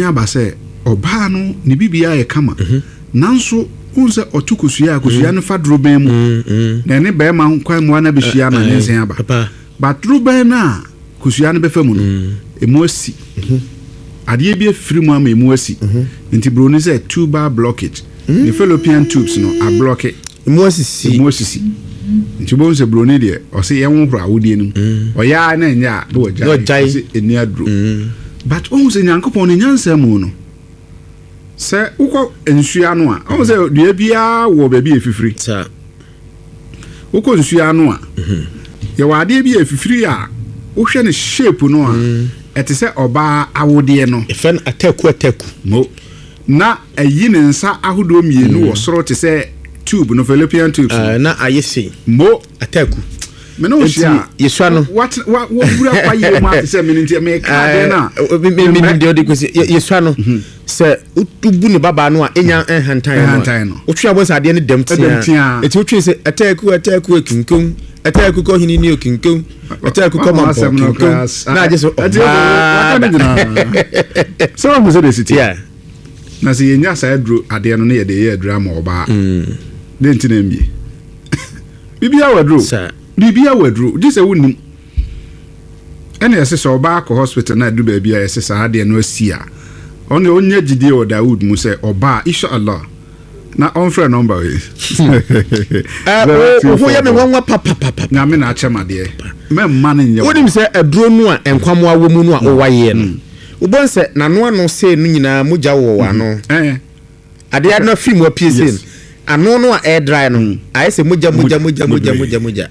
Aba sɛ ɔbaa no ne biribiara yɛ kama, nanso wohu sɛ ɔto kosua a, kosua no fa dorobɛn mu na ɛne barima nkwammoa no abɛhyia ama nyinsɛn aba. But dorobɛn no a kosua no bɛfa mu no, ɛmu asi. Adeɛ bi afiri mu ama ɛmu asi. Nti buroni sɛ tubal blockage. Ne fallopian tubes no ablɔke. Emu asisi. Emu asisi. Nti wobɛhu sɛ buroni deɛ ɔse yɛnhohoro awodeɛ no mu. Ɔyɛ ara na ɛnyɛ a na wagyae. Ɔse ɛnni aduro. But wohu sɛ Nyankopɔn ne nyansa mu no, sɛ wokɔ nsuo ano a, wohu sɛ dua biara wɔ baabi a ɛfifiri. Wokɔ nsuo ano a, yɛwɔ adeɛ bi a ɛfifiri a wohwɛ no shape no a, ɛte sɛ ɔbaa awodeɛ no. Yɛfrɛ no ataku ataku. Mo. Na ayi ne nsa ahodoɔ mmienu wɔ soro te sɛ tube no, fallopian tubes no. Na ayɛ sei. Mo. Ataku. Me ne wo hyia a. Nti yɛsua no. Watena, wa, wawura kwayie mu ate sɛ me no nti meka adeɛ no a. Me, me, menim deɛ ɔde kɔsi. Yɛsua no. Sɛ wobu ne babaa no a, ɛnya nhantan no a, wotwe abɔ sɛ adeɛ no dɛm tea. Nti wotwe sɛ ataku, ataku, akinkom, ataku kɔ hene ni okinkom, ataku kɔ mampɔ kinkom, na agye so ɔbaa da. Sɛ wahu sɛ deɛ siti. Na sɛ yɛnya saa aduro adeɛ no ne yɛde yɛ aduro ama ɔbaa. Dɛn nti na ɛmmie? Biribiara wɔ aduro. Biribiara wɔ aduro. Gye sɛ wonnim. Ɛna yɛse sɛ ɔbaa kɔ hospital na adu baabi a yɛse saa adeɛ no asi a, ɔno deɛ ɔnya gyidie wɔ Dawood mu sɛ ɔbaa, Insha Allah, na ɔmfrɛ nɔmba wei. Wo ho yɛ me nwanwa papapapa. Nyame na akyɛ m'adeɛ. Mɛmma no nyɛ wo. Wonim sɛ aduro no a nkwamoa wɔ mu no a wowayeɛ no, wobɛhu sɛ n'ano ano sei no nyinaa mogya wɔ wɔ ano. Adeɛ no afiri mu apue sei no, ano no a ɛredry no, ayɛ sɛ mogya mogya mogya mogya mogya mogya.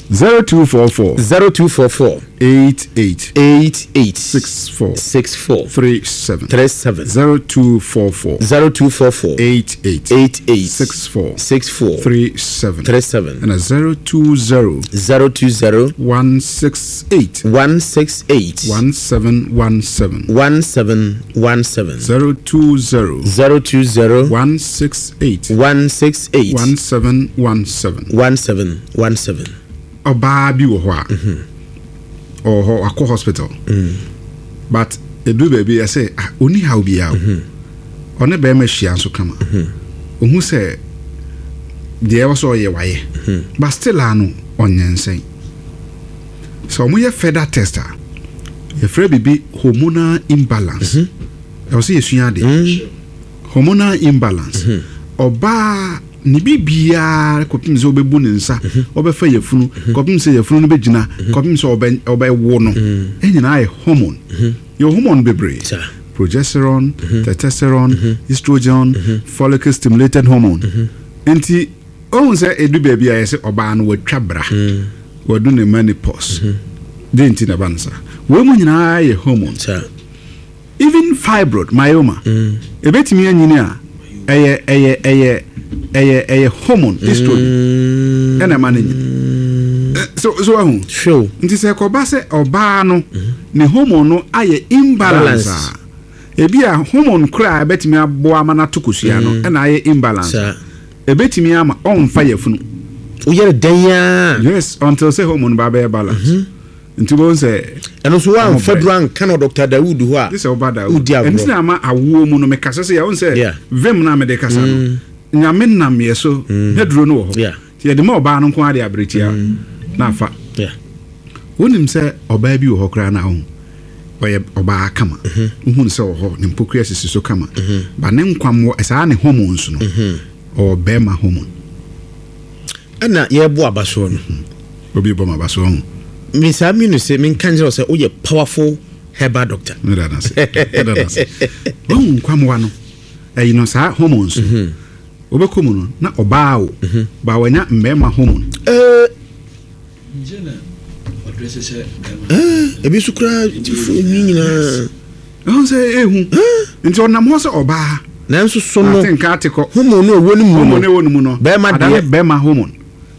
0244. 0244. 88. 88. 64. 64. 37. 37. 0244. 0244. 88. 88. 64. 64. 37. 37. Ɛna 020. 020. 168. 168. 1717. 1717. 020. 020. 168. 168. 1717. 1717. Ɔbaa bi wɔ hɔ a, ɔwɔ hɔ wakɔ hospital but ɛduru baabi yɛsɛ ah, ɔnni haw biara o. Ɔne bɛrima hyia nso kama. Ɔhu sɛ deɛ ɛwɔ sɛ ɔyɛ wayɛ but still a no ɔnyɛnsɛn. Sɛ wɔyɛ further test a, yɛfrɛ biribi hormonal imbalance. Ɛwɔ sɛ yɛsua adeɛ. Hormonal imbalance. Ɔbaa ne biribiara kɔpem sɛ ɔbɛbu ne nsa, ɔbɛfa yafunu, kɔpem sɛ yafunu no bɛgyina, kɔpem sɛ ɔbɛ ɔbɛwo no, nyinaa yɛ hormone. Yɛwɔ hormone bebree. Progesterone, testosterone, estrogen, follicle stimulated hormone. Nti wohu sɛ ɛdu baabi a yɛsɛ ɔbaa no watwa bra, wadu ne menopause. Dɛn nti na ɛba no saa? Wei mu nyinaa yɛ hormone. Even fibroid, myoma, ebetumi anyini a, ɛyɛ ɛyɛ ɛyɛ ɛyɛ ɛyɛ hormone estrogen ɛna ɛma no nyini. So so ahu. Sure. Nti sɛ ɛkɔba sɛ ɔbaa no ne hormone no ayɛ imbalance a, ebi a hormone koraa a ɛbɛtumi aboa ama no ato kosua no ɛna ayɛ imbalance a, ebetumi ama ɔmfa yafunu. Woyɛ no dɛn ara. Yes, until sɛ hormone ba bɛyɛ balance. Nti wobɛhu sɛ. Ɛno nso woamfa duru anka no Dɔkta Dawood hɔ a, Gye sɛ woba Dawood. wodi agorɔ. Ɛno nti na ama awoɔ mu no mekasa sɛ wohu sɛ vim no a mede kasa no, Nyame nam yɛ so, n'aduro no wɔ hɔ. Nti yɛde ma ɔbaa no nko ara de aberɛ tia na afa. Wonim sɛ ɔbaa bi wɔ hɔ koraa no a wohu, ɔyɛ ɔbaa kama. Wohu no sɛ ɔwɔ hɔ, ne mpokua sisi so kama. But ne nkwammoɔ, saa ne hormones no, ɔwɔ bɛrima hormone. Ɛna yɛrebɔ abasoɔ no. Obi bɔ m'abasoɔ ho. Me saa mi no sɛ menka nkyerɛ wo sɛ woyɛ powerful herbal doctor. Meda no ase. Meda no ase. Wahu nkwamoa no, ɛyi no saa hormones no. Mhm. Wobɛkɔ mu no na ɔbaa o, mhm. ba wanya mmarima hormone. Eh. Eh, ebi nso koraa ni nyinaa. Ɛho sɛ ehu. Nti ɔnam hɔ sɛ ɔbaa. Nanso so no. Ate nka ate kɔ. Hormone no ɛwɔ ne mu no. Hormone ɛwɔ ne mu no. Bɛrima deɛ. Adane bɛrima hormone.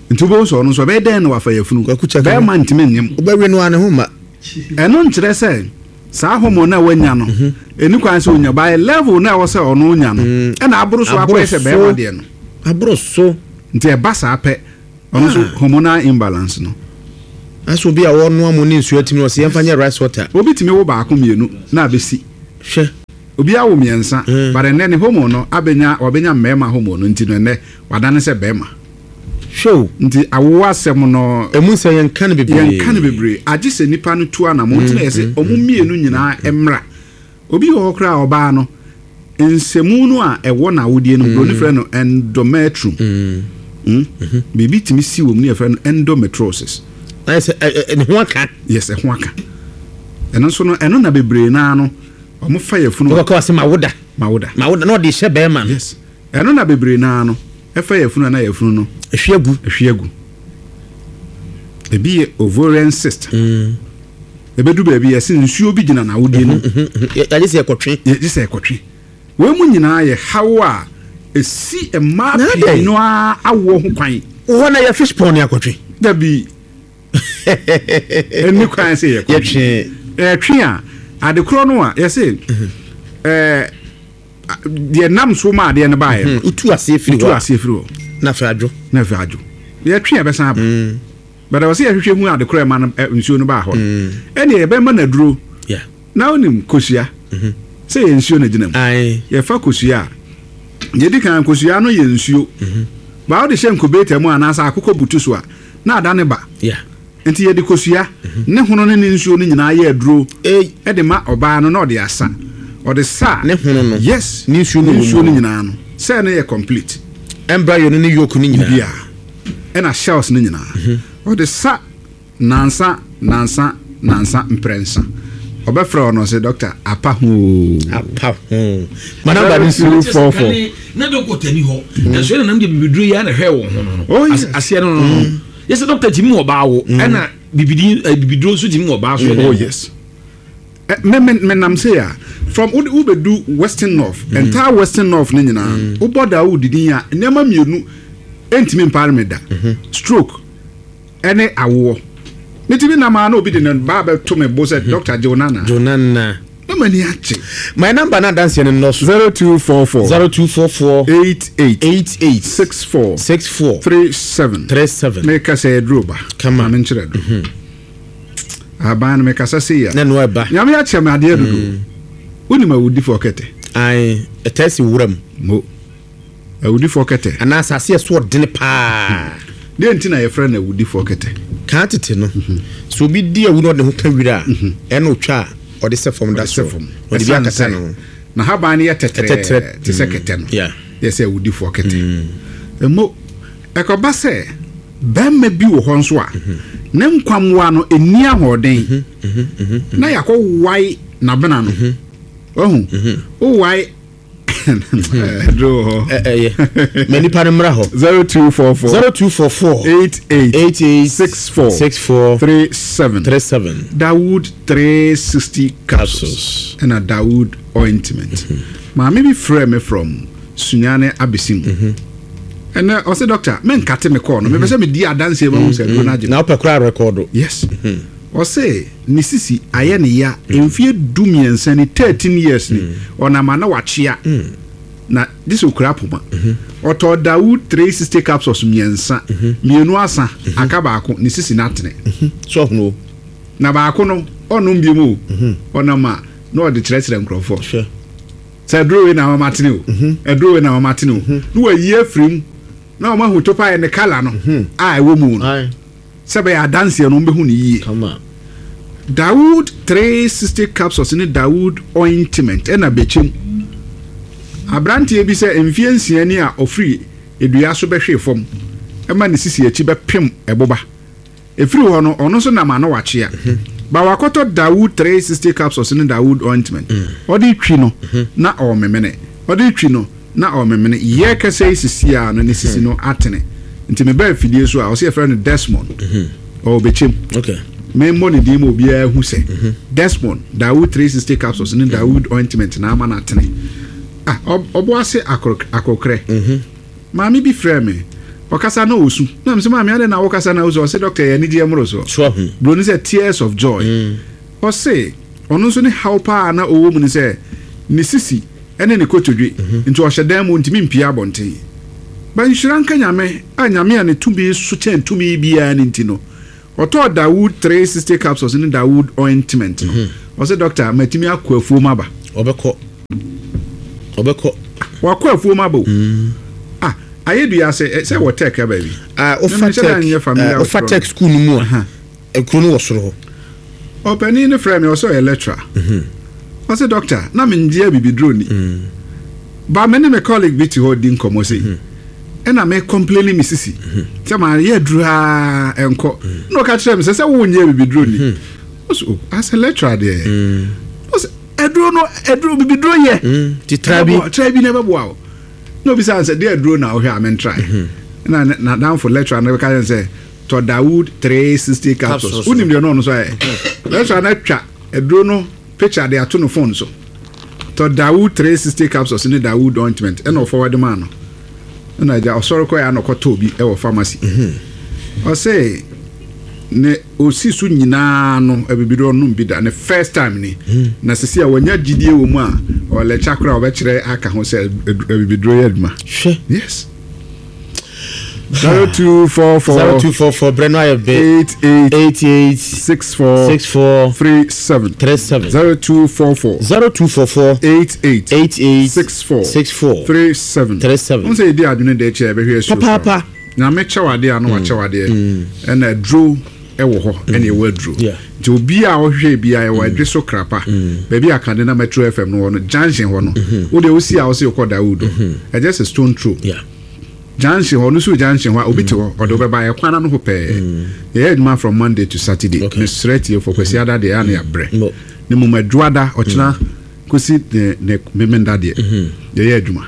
Nti wobɛhu sɛ ɔno nso ɛbɛyɛ dɛn na wafa yafunu. Bɛrima ntumi nyem. Wobɛwe no ara ne ho mma. Ɛno nkyerɛ sɛ saa hormone no a wanya no, ɛni kwan sɛ onya. By level no a ɛwɔ sɛ ɔno onya no, ɛna aboro so akɔyɛ sɛ bɛrima deɛ no. Aboro so. Nti ɛba saa pɛ, Ɔno nso hormonal imbalance no. Asɛ obi a ɔnoa mo ne nsuo atumi ɔsɛ yɛmfa nyɛ rice water. Obi tumi wo baako mmienu na abɛsi. Hwɛ. Obiara wo mmiɛnsa, but ɛnnɛ ne hormone no abɛnya, wabɛnya mmarima hormone no nti no ɛnnɛ wadane sɛ barima. Hwɛ o. Nti awoɔ asɛm no. Ɛmu nsɛm yɛnka no bebree. Yɛnka no bebree. Agye sɛ nipa no tu anamɔn nti na yɛse wɔn mmienu nyinaa mmra. Obi wɔ hɔ koraa a ɔbaa no, nsɛmu no a ɛwɔ n'awodeɛ no mu, buroni frɛ no endometrium. Mm. Biribi tumi si wɔ mu ne yɛfrɛ no endometriosis. Ayɛ sɛ ne ho aka. Yes, ɛho aka. Ɛno nso no, ɛno na bebree naa no, wɔn fa yafunu. Wɔkɔka wɔ sɛ mawoda. Mawoda. Mawoda na ɔde hyɛ bɛrima no. Yes. Ɛno na bebree naa no, ɛfa yafunu a na yafunu no. Ehwie agu. Ehwie agu. Ebi yɛ ovarian cyst. Ebedu baabi yɛse nsuo bi gyina n'awodie no mu. Yɛgye sɛ yɛkɔtwe. Yɛgye sɛ yɛkɔtwe. Wei mu nyinaa yɛ haw a esi mmaa pii no ara awoɔ ho kwan. Wɔ hɔ na yɛ fish pond akɔtwe. Dabi. Ɛnni kwan sɛ yɛkɔtwe. Yɛtwe. Yɛtwe a, adekorɔ no a yɛse ɛɛ deɛ nam so ma adeɛ no baeɛ no. Wotu aseɛ firi hɔ. Wotu aseɛ firi hɔ. Na afei adwo. Na afei adwo. Yɛtwe a ɛbɛsan aba. But ɛwɔ sɛ yɛhwehwɛ hu ade korɔ ɛma no nsuo no baa hɔ no. Ɛnneɛ yɛbɛma no aduro. Na wonim kosua sɛ yɛ nsuo na gyina mu. Yɛfa kosua a, deɛ ɛdi kan kosua no yɛ nsuo. Ba wode hyɛ incubator mu anaasɛ akokɔ butu so a, na ada ne ba. Nti yɛde kosua ne hono ne ne nsuo no nyinaa yɛ aduro de ma ɔbaa no na ɔde asa. Ɔde sa a, Ne hono no, yes, ne nsuo no ne nsuo no nyinaa no, sɛ ɛno yɛ complete. Embryo no ne yolk no nyinaa. Biribiara. Ɛna shells no nyinaa. Ɔde sa nansa, nansa, nansa, mprɛnsa. Ɔbɛfrɛ wo no ɔse, Doctor, apa ho oo. Apa ho. Ma number no nsi. 244. Na dɔkota ni hɔ. Nanso ɛna nam deɛ bibiduro yi ara na ɛhwɛ wɔn ho no no. Oh, yes. Aseɛ no no no. Yɛ sɛ dɔkota tumi wɔ ɔbaa wo ɛna bibidi bibiduro nso tumi wɔ ɔbaa so. Oh yes. Me me me nam sei a from wo wobɛdu western north mm. entire western north ne nyinaa mm. wobɔ da wo didi a nneɛma mmienu ntumi mpare me da mm-hmm. stroke ɛne awoɔ metumi nam a na obi de ne ba bɛto me bo sɛ mm-hmm. doctor Jonana Jonana na m'ani agye. My number na adanseɛ no nnɔso. 0244. 0244. 88. 88. 64. 64. 37. 37. Meka sɛ aduro ba. Kama. Ma menkyerɛ aduro. Mm-hmm. Aban no mekasa sei a. Na ɛno ɛba. Nyame akyɛ me adeɛ dodo. Mm. Wonim awudifoɔ kɛtɛ? Ae, ɛtaa si wura mu. Mo. Awudifoɔ kɛtɛ. Anaa asase a ɛso ɔdene paa. Deɛ nti na yɛfrɛ no awudifoɔ kɛtɛ? Kan tete no, sɛ obi di awu na ɔde ne ho ka wira a, ɛna ɔtwa a ɔde sɛ fam da so. Ɔde bi akata ne ho. N'ahaban no yɛ tɛtrɛɛ te sɛ kɛtɛ no. Yɛ sɛ awudifoɔ kɛtɛ. Mo. Ɛkɔba sɛ barima bi wɔ hɔ nso a, ne nkwammoa no nni ahoɔden, na yɛakɔwae n'abena no. Wahu? Wowae Duro wɔ hɔ. Ɛyɛ. Ma nipa no mmra hɔ. 0244. 0244. 88. 88. 64. 64. 37. 37. Dawood 360 capsules. Ɛna Dawood ointment. Maame bi frɛ me from Sunyani Abesim. Ɛnɛ ɔsɛ doctor menkate me kɔɔ no mepɛ sɛ medi adanseɛ ma hu sɛ aduro no agye. Na wopɛ koraa rekɔdo. Yes. Ɔse ne sisi ayɛ ne ya mfeɛ 13 ni, 13 years ni, ɔnam a na wakyea na gye sɛ ɔkura poma. Ɔtɔɔ Dawood 360 capsules mmiɛnsa, mmienu asa, aka baako, ne sisi no atene. So ɔhunu o. Na baako no ɔnnom biom o, ɔnam a na ɔde kyerɛkyerɛ nkurɔfoɔ. Sɛ aduro wei na ama matene o, aduro wei na ama matene o, na wayi afiri mu na wɔn ahu topaeɛ ne kala no a ɛwɔ mu no. Sɛ ɛbɛyɛ adanseɛ no wɔbɛhu no yie. Dawood 360 capsules ne Dawood ointment ɛna bɛkyɛm. Aberanteɛ bi sɛ mfeɛ nsia ni a ɔfiri dua so bɛhwee fam ma ne sisi akyi bɛpem ɛboba. Ɛfiri hɔ no ɔno nso nam ano wakyea. Ba wakɔtɔ Dawood 360 capsules ne Dawood ointment. Ɔde retwi no na ɔrememene. Ɔde retwi no. Na ɔrememene. Yɛ kɛsɛ yi sisi a no ne sisi no atene. Nti me ba afidie so a, ɔsɛ yɛfrɛ no Desmond. Ɔwɔ Bɛkyɛm. Me mmɔ ne din ma obiara hu sɛ Desmond, Dawood 360 capsules ne Dawood ointment na ama no atene. Ah, ɔbo ase akokrɛ. Maame bi frɛɛ me. Ɔkasa na ɔsu. Na mesɛ maame adɛn na wokasa na wosu? Ɔse doctor ɛyɛ anigyeɛ mmorosoɔ. Broni sɛ tears of joy. Ɔse ɔno nso ne haw paa a na ɔwɔ mu ne sɛ ne sisi ne ne kotodwe nti ɔhyɛ dan mu ɔntumi mpue abɔnten. But nhyira nka Nyame a Nyame a ne tumi so kyɛn tumi biara no nti no ɔtɔɔ Dawood 360 capsules ne Dawood ointment no. Ɔse doctor matumi akɔ afuom aba. Ɔbɛkɔ. Ɔbɛkɔ. Wakɔ afuom aba o. Ah, ayɛ dua ase sɛ wɔ tech aba bi. Ah, ofa tech. Ofa tech school no mu a. Ekuro no wɔ soro hɔ. Ɔpanin no frɛ me ɔsɛ ɔyɛ lecturer. Ɔsɛ doctor na me ngye abibiduro ni. Ba me ne me colleague bi te hɔ di nkɔmɔ sei. Ɛna me complaini me sisi. Sɛ ma yɛ aduro aa ɛnkɔ. Na ɔka kyerɛ me sɛ sɛ wo ngye abibiduro ni. Ɔsɛ oh as a lecturer deɛ. Ɔsɛ aduro no aduro bibiduro yɛ. Ti tra bi. Tra bi na ɛbɛboa wo. Na obisa sɛ deɛ aduro na wohwɛ a me ntrae. Ɛna n'adamfo lecturer no ka kyerɛ sɛ tɔ Dawood 360 capsules. Wonim deɛ ɔno ɔno nso ayɛ. Lecturer no atwa aduro no picture de ato no phone so. Tɔ Dawood 360 capsules ne Dawood ointment ɛna ɔforward maa no. Ɛna agya ɔsɔre kɔɛ ana ɔkɔtɔɔ bi ɛwɔ pharmacy. Ɔse ne osi so nyinaa no abibiduro ɔnom bi da ne first time ni. Na sisi a wanya gyidie wɔ mu a ɔlɛkya koraa ɔbɛkyerɛ aka ho sɛ abibiduro yɛ adwuma. Hwɛ. Yes. 0244 0244 brɛ no ayɛ bɛ 88 88 64 64 37 37 0244 0244 88 88 64 64 37 37 n sɛ yɛdi adwene de akyɛ yɛbɛhwɛ asuo Papaapa. Nyame kyɛw adeɛ a na wakyɛw adeɛ ɛna aduro ɛwɔ hɔ ɛna ɛwɔ aduro nti obi a ɔhwehwɛ bi a ɛwɔ adwe so krapa baabi a kande na Metro FM no wɔ no junction hɔ no wo deɛ wosi a wosɛ wokɔ Dawood ɛgyɛ sɛ stone throw Yeah. Junction hɔ no so junction hɔ a obi te hɔ ɔde wobɛba ɛkwan ano hɔ pɛɛ yɛyɛ adwuma from Monday to Saturday Okay. mesrɛ tiefo Kwasi ada deɛ ɛa ne yɛabrɛ Mo. ne mmom adwoada ɔkyena kɔsi ne ne memenda deɛ yɛyɛ adwuma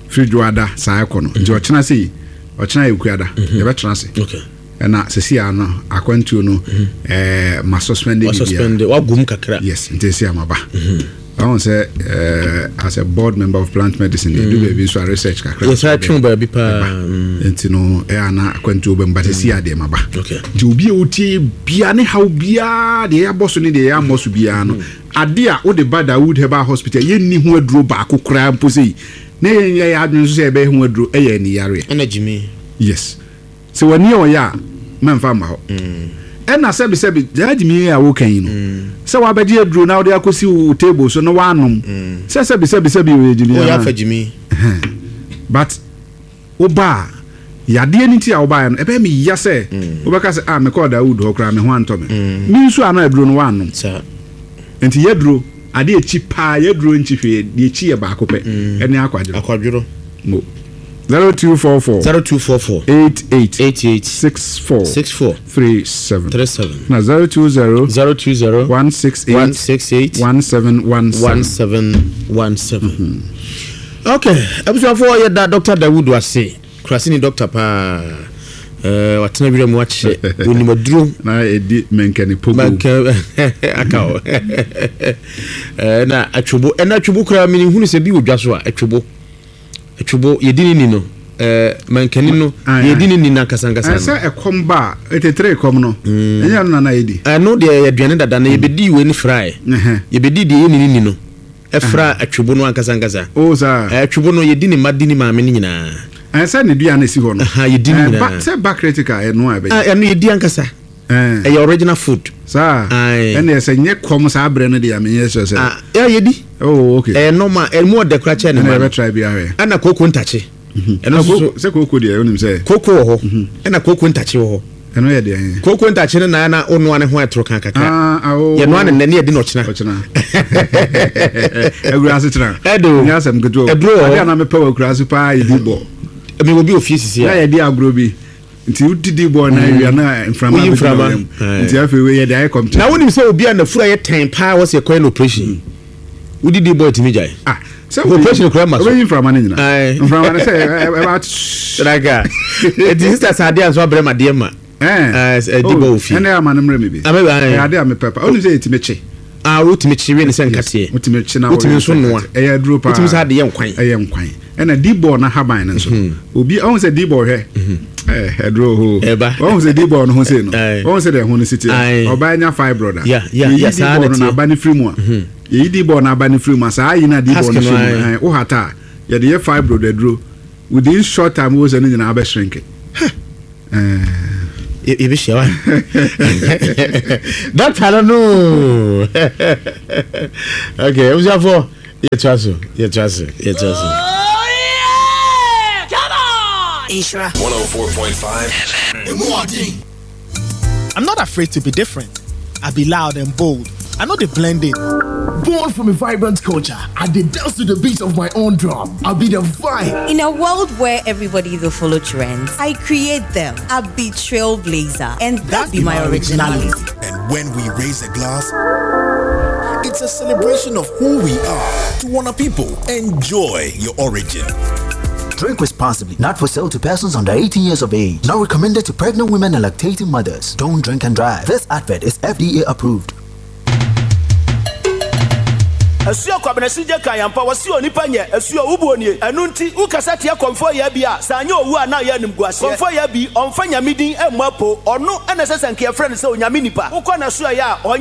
firi dwoada saa ɛkɔ no nti ɔkyena sei ɔkyena yɛ kuada yɛbɛtena ase Okay. ɛna sɛsi a no akwantuo no ɛɛ ma suspend Wa biribiara suspend wagum kakra. Yes, nti ɛsi ama ba. Ɔhu sɛ as a board member of plant medicine, ɛdu baabi nso a research kakra. Yɛsan twe baabi paa. Nti no ɛyɛ ana akwantuo bɛm but ɛsi adeɛ ma ba. Okay. Nti obi a wotie bia ne haw biara deɛ yɛabɔ so ne deɛ yɛammɔ so biara no, ade a wode ba Dawood Herbal Hospital yɛnni ho aduro baako koraa mpo sei na yɛnyɛ yɛn adwene nso sɛ yɛbɛyɛ ho aduro ɛyɛ aniyareɛ. Ɛna gyimi. Yes. Sɛ w'ani yɛ ɔya a, mɛmfa mma hɔ. Ɛna sɛbesɛbe, saa gyimii yi a woka yi no, sɛ wabɛgye aduro na wode akɔsi wo table so na woanom, sɛ sɛbesɛbe sɛbe ɔyɛ gyimii Woyɛ anaa? afa gyimii. But woba a, yadeɛ no nti a wobaeɛ no, ɛbɛyɛ me ya sɛ wobɛka sɛ, ah, mekɔɔ Dawood hɔ koraa, me ho antɔ me. Me nso a na aduro no woannom. Saa. Nti yɛaduro, adeɛ ɛkyi paa, yɛaduro nkyi hwee, deɛ ɛkyi yɛ baako pɛ, ɛne akwadworɔ. Akwadworɔ. Mo. 0244. 0244. 88. 88. 64. 64. 37. 37. Na 020. 020. 168. 168. 1717. 1717. Okay, abusuafoɔ yɛda Dr. Dawudu ase. Kuraseni dɔkta paa. Eh, watena wira mu akyɛ. Onim aduro. Na edi mɛnkɛne pogo. Mɛnkɛ aka o. Eh, na atwobo. Ɛna atwobo koraa mene hunu sɛ bi wɔ dwa so a atwobo. Atwobo yɛdi ne ni no. Eh, mɛnkɛne no yɛdi ne ni no ankasa ankasa no. Sɛ ɛkɔm ba a, etetere kɔm no. Ɛnyɛ ɛno na na yɛdi. Ɛno deɛ yɛ aduane dada na yɛbɛdi wei ne frae. Yɛbɛdi deɛ yɛnni ne ni no. Ɛfra atwebo no ankasa ankasa. Oh, saa. Atwebo no, yɛdi ne mma di ne maame no nyinaa. Ɛɛ, sɛ ne dua no si hɔ no. Aha, yɛdi ne Ɛɛ, nyinaa. ba, sɛ ba critical ɛno a ɛbɛyɛ. Ah, ɛno yɛdi ankasa. Ɛɛ. Ɛyɛ original food. Saa. Ae. Ɛnna ɛsɛ nyɛ kɔm saa berɛ no deɛ a menyɛ sure sɛ. Ah, yeah, yɛdi. Oh, okay. Ɛyɛ normal, ɛmu ɔdɛ koraa kyɛn ne Ɛnna mma no. yɛbɛtry bi ahwɛ. Ɛnna kooko ntakye. Ɛno nso so. Sɛ kooko deɛ wonim sɛ. Kooko wɔ hɔ, ɛnna kooko ntakye wɔ hɔ. Ɛno yɛ deɛn? Kooko ntakye no na na wonoa ne ho ɛtoro kan kakra. Ah, ah, oh. Yɛnoa ne nnɛ ne yɛdi no ɔkyena. Ɔkyena. Awura ase kyena. Ɛde o. Nyɛ asɛm ketewa o. Ɛduro wɔ hɔ. Adeɛ a na mepɛ wɔ akura ase paa yɛ di bɔ. Mewɔ bi wɔ fie sisi a. Na yɛdi agorɔ bi. Nti wodidi bɔ na awia na mframa Woyi bɛgyina mframa. wo yam. Nti afei wei yɛde ayɛ competition. Na wonim sɛ obi a n'afuru ayɛ tɛn paa wɔ sɛ yɛkɔyɛ no operation. Wodidi bɔ ɛtumi gyae. Ah, sɛ operation kura ma so. Obeyi mframa no nyina. Mframa no sɛ ɛba. Traka. Eti sister sɛ adeɛ nso abrɛ ma deɛ ma. Ɛɛ. Ɛdi bɔ ofie. Ɛnna ama no mmerɛ mi bi. Amɛ bɛ. Ɛyɛ adeɛ a mepɛ pa. Onim sɛ yɛtumi kye. Ah, wotumi kye wie ne sɛ nkateɛ. Wotumi kye na wotumi nso noa. Ɛyɛ aduro paa. Wotumi sɛ adeɛ nkwan. Ɛyɛ nkwan. Ɛna di bɔɔl no ahaban no nso. Obi ɔhu sɛ di bɔɔl hwɛ. Ɛɛ aduro hoo. Ɛba. Ɔhu sɛ di bɔɔl no ho sei no. Ɔhu sɛ deɛ ɛho no si teɛ. Ɔbaa nya fibroid a. Ya ya ya saa na teɛ. Yɛyi di bɔɔl no n'aba no firi mu a. Yɛyi di bɔɔl n'aba no firi mu a saa ayi na di bɔɔl no hyɛ mu. Ɛɛ wohata a yɛde yɛ fibroid aduro. Within short time wo sɛ ne nyinaa bɛ shrink. Ɛɛ. Yɛbɛhyia wa. Doctor no no. Okay, abusuafoɔ yɛtoa so, yɛtoa so, yɛtoa so. Oh yeah! Come on! Nhyira. 104.5 FM. I'm not afraid to be different. I be loud and bold. I know they blend in. Born from a vibrant culture, I did dance to the beat of my own drum. I'll be the vibe. In a world where everybody will follow trends, I create them. I be trailblazer, and that, that be my originality. originality. And when we raise a glass, it's a celebration of who we are. To honor people, enjoy your origin. Drink responsibly. Not for sale to persons under 18 years of age. Not recommended to pregnant women and lactating mothers. Don't drink and drive. This advert is FDA approved. Asuo Kwabena Sigye kan ampa wɔse onipa nyɛ asuo wo boɔ nie ɛno nti wo kasa tia Kɔmfoɔ Yaa bi a sɛ anyɛ owu a na ayɛ animguaseɛ Kɔmfoɔ Yaa bi ɔmfa Nyame din mmɔ apo ɔno na ɛsɛ sɛ nka yɛfrɛ no sɛ Onyame nipa wokɔ n'asoɛeɛ a ɔnyɛ.